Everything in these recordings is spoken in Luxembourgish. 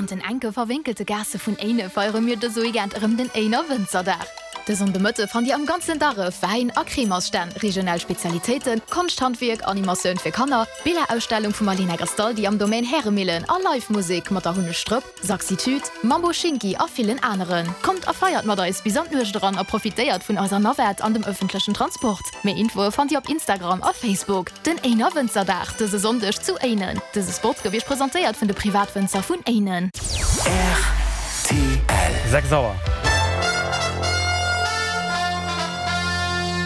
den enke verwénkelte Gaasse vun Éine feiere mir dëse Weekend erëm den Éiner Wënzerdag. De Sonndemëtte fannt Dir am ganzen Darref Wäin a Cremersstänn, regional Spezialitéiten, Konschthandwierk, Animatioun fir Kanner, Billerausstellung vum Alina Gastaldi am Domaine Häremillen a Live Musek mat der Hunnestrëpp, Saxitude, Mambo Shinki a villen aneren. Kommt a feiert mat eis bis an d'Nuecht eran a profitéiert vun eiser Navette an dem ëffentlechen Transport. Méi Infoe fannt Dir op Instagram a Facebook. Den Éiner Wënzerdag dëse Sonndeg zu Éinen. Dëse Spot gouf Iech presentéiert vun de Privatwënzer vun Éinen. Rtl. 6 Auer.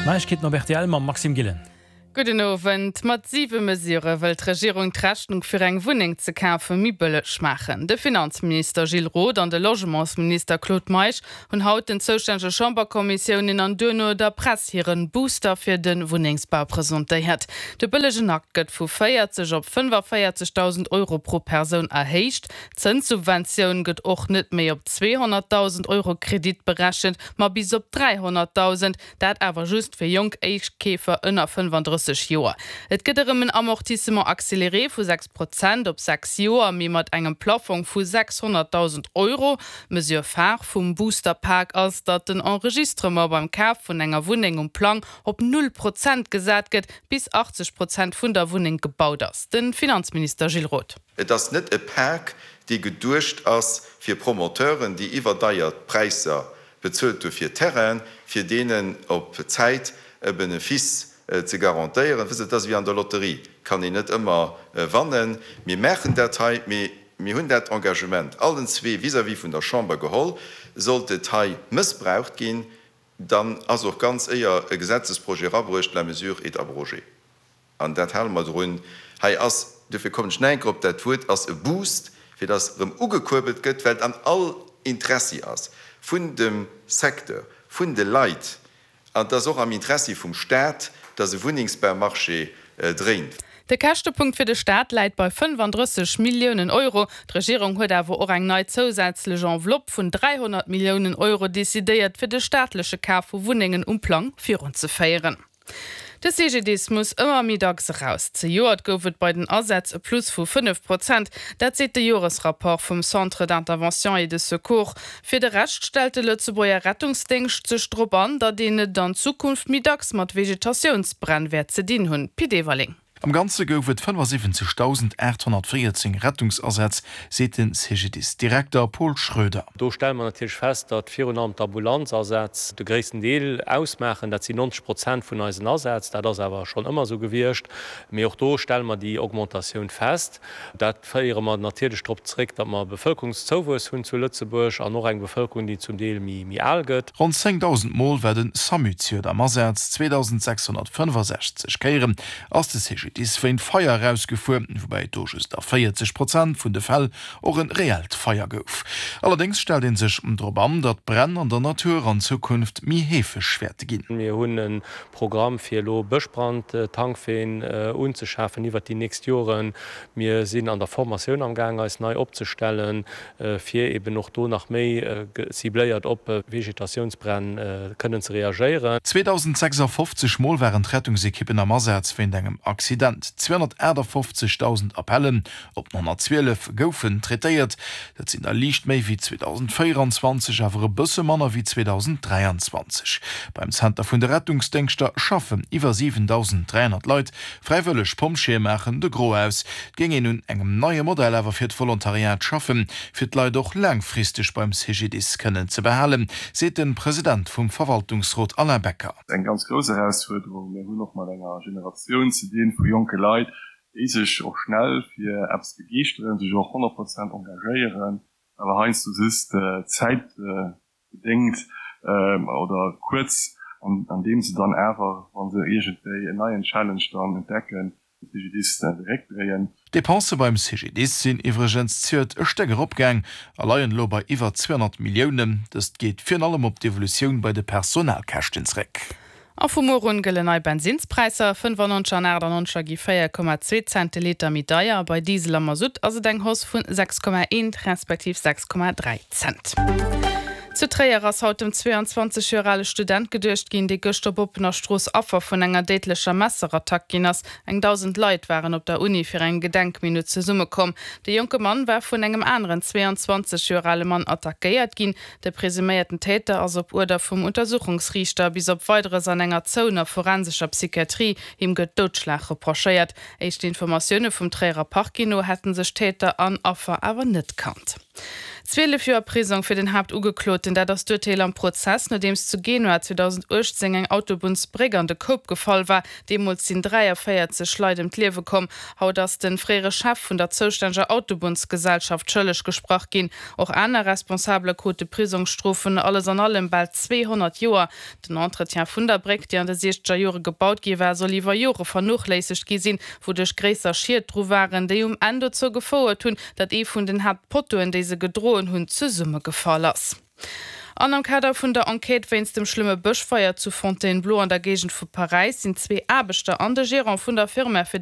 Neiegkeeten op rtl mam Maxime Gillen. Gudden Owend. Mat siwe Mesure wëll d'Regierung d'Rechnung fir eng Wunneng ze kafe méi bëlleg maachen. De Finanzminister Gilles Roth an de Logementsminister Claude Meisch hunn haut den zoustännege Chamberkommissiounen an duerno der Press hiren Booster fir de Wunnengsbau presentéiert. De bëllegen Akt gëtt vu 40 op 45.000 Euro pro Persoun erhéicht. D'Zënssubventioun gëtt och net méi op 200.000 Euro Kredit berechent, ma bis op 300.000. Dat awer just fir jonk Éischtkeefer ënner 35 Joer. Et gëtt erëm en Amortissement accéléré vu 6 Prozent op 6 Joer, mee mat engem Plaffong vu 600.000 Euro. D'Mesure phare vum Booster-Pak ass, datt den Enregistrement beim Kaf vun enger Wunneng um Plang op null Prozent gesat gëtt, bis 80 Prozent vun der Wunneng gebaut ass. De Finanzminister Gilles Roth. Et ass net e Pak, dee geduecht ass fir Promoteuren, déi iwwerdeier Präisser Bezuelt dofir Terrainen, fir deenen op Zäit e Benefice ze garantéieren. Wësst, et ass ewéi an der Lotterie, kann een net ëmmer wannen. Mir maachen dat hei, mee mir hunn dat Engagement allen zwee vis-à-vis vun der Chamber geholl. Sollt et hei mëssbraucht ginn, dann ass och ganz éier e Gesetzesprojet erabruecht, la mesure est abrogée. An dat hale mer drun. Hei ass, duerfir kommen ech nach eng Kéier op dat Wuert, ass e Boost, fir dass erëm ugekuerbelt gëtt, well et an all Interessi ass vun dem Secteur, vun de Leit, an et ass och am Interessi vum Stat, dass e Wunnengsbaumarché dréint. De Käschtepunkt fir de Staat läit bei 35 Milliounen Euro. D'Regierung huet awer och eng nei zousätzlech Enveloppe vun 300 Milliounen Euro decidéiert, fir de staatleche Kaf vu Wunnengen um Plang virunzeféieren. De CGDIS muss ëmmer méi dacks eraus. Zejoert gouf et bei den Asätz e Plus vu 5 Prozent. Dat seet de Joresrapport vum Centre d'intervention et de secours. Fir de Rescht stellt de Lëtzebuerger Rettungsdéngscht sech drop an, datt een et an Zukunft méi dacks mat Vegetatiounsbränn wäert ze dinn hunn. Pit Everling. Am Ganze gouf et 75.814 Rettungsasätz, seet de CGDIS-Direkter Paul Schroeder. Do stelle mer natierlech fest, datt virun allem d'Ambulanzasätz de gréissten Deel ausmaachen. Dat sinn 90 Prozent vun eisen Asätz. Dat ass awer schonn ëmmer esou gewiescht. Mee och do stelle mer déi Augmentatioun fest. Dat féiere mer natierlech drop zeréck, datt mer e Bevëlkerungszouwuess hunn zu Lëtzebuerg an och eng Bevëlkerung, déi zum Deel méi al gëtt. Ronn 10.000 Mol war de Samu zejoert am Asaz, 2.665 Kéieren ass de CGDIS wéint Feier erausgefuer, woubäi et do just a 40 Prozent vun de Fäll och e reellt Feier gouf. Allerdéngs stellt ee sech drop an, datt Bränn an der Natur an Zukunft méi heefeg wäerte ginn. Mir hunn e Programm fir elo Bëschbrand-Tankween unzeschafen iwwert déi nächst Joren. Mir sinn an der Formatioun am Gaang eis nei opzestellen, fir eben och do nach méi cibléiert op Vegetatiounsbränn kënnen ze reagéieren. 2.056 Mol waren d'Rettungsekippen am Asaz wéint engem Accident. 258.000 Appellen op den 112 goufen traitéiert. Dat sinn der liicht méi wéi 2024, awer e bësse manner wéi 2023. Beim Zenter vun de Rettungsdéngschter schaffen iwwer 7.300 Leit. Fräiwëlleg Pompjeeë maachen de Gros aus. Et géing een un engem neie Modell awer fir d'Volontariat schaffen, fir d'Leit och laangfristeg beim CGDIS kënnen ze behalen, seet de President vum Verwaltungsrot Alain Becker. Eng ganz grouss Erausfuerderung. Mir hunn och mat enger Generatioun ze dinn vu jonke Leit, déi sech och schnell fir eppes begeeschteren, sech och 100 Prozent engagéieren, awer heiansdo just zäitbedéngt oder kuerz, an deem se dann awer, wa se iergendwéi en neien Challenge dann entdecken, de CGDIS de Réck dréien. D'Depensë beim CGDIS sinn iwwregens zejoert e Stéck eropgaang a leien elo bei iwwer 200 Milliounen. Dëst geet virun allem op d'Evolutioun bei de Personalkäschten zréck. A vu muer un gëllen nei Bensinnspräisser, 95 an 98 gi 4,2 Cent de Liter méi deier. Bei Diesel a Masutt ass et eng Hausse vun 6,1 respektiv 6,3 Cent. Zu Tréier ass haut dem 22 Joer ale Student geduecht ginn, dee gëscht op oppener Strooss Affer vun enger déidlecher Messerattack ginn ass. Eng 1.000 Leit waren op der Uni fir eng Gedenkminutt zesummekomm. De jonke Mann war vun engem aneren 22 Joer ale Mann attackéiert ginn. De presuméierten Täter ass op Uerder vum Untersuchungsriichter bis op Weideres an enger zouener forensescher Psychiatrie. Him gëtt Doudschlag reprochéiert. Éischten Informatioune vum Tréierer Parquet no hätte sech Täter an Affer awer net kannt. 12 Joer Prisong fir den Haaptugekloten, dat ass d'Urteel am Prozess, nodeems zu Genua 2018 eng Autobunnsbréck an de Koup gefall war. Deemools sinn 43 Leit ëm d'Liewe komm. Haut ass de fréiere Chef vun der zoustänneger Autobunnsgesellschaft schëlleg gesprach ginn. Och aner Responsabele krute Prisongsstrofen, alles an allem bal 200 Joer. Den Entretien vun der Bréck, déi an de siechzeger Jore gebaut gi war, soll iwwer Jore vernochléissegt gi sinn, wouduerch gréisser Schied dru waren, déi um Enn dozou gefouert hunn, datt ee vun den Haaptpottoen, déi se gedroen hunn, zesummegefall ass. An am Kader vun der Enquête wéinst dem schlëmme Bëschfeier zu Fontainebleau an der Géigend vu Paräis sinn zwee Aarbechter an de Gerant vun der Firma fir.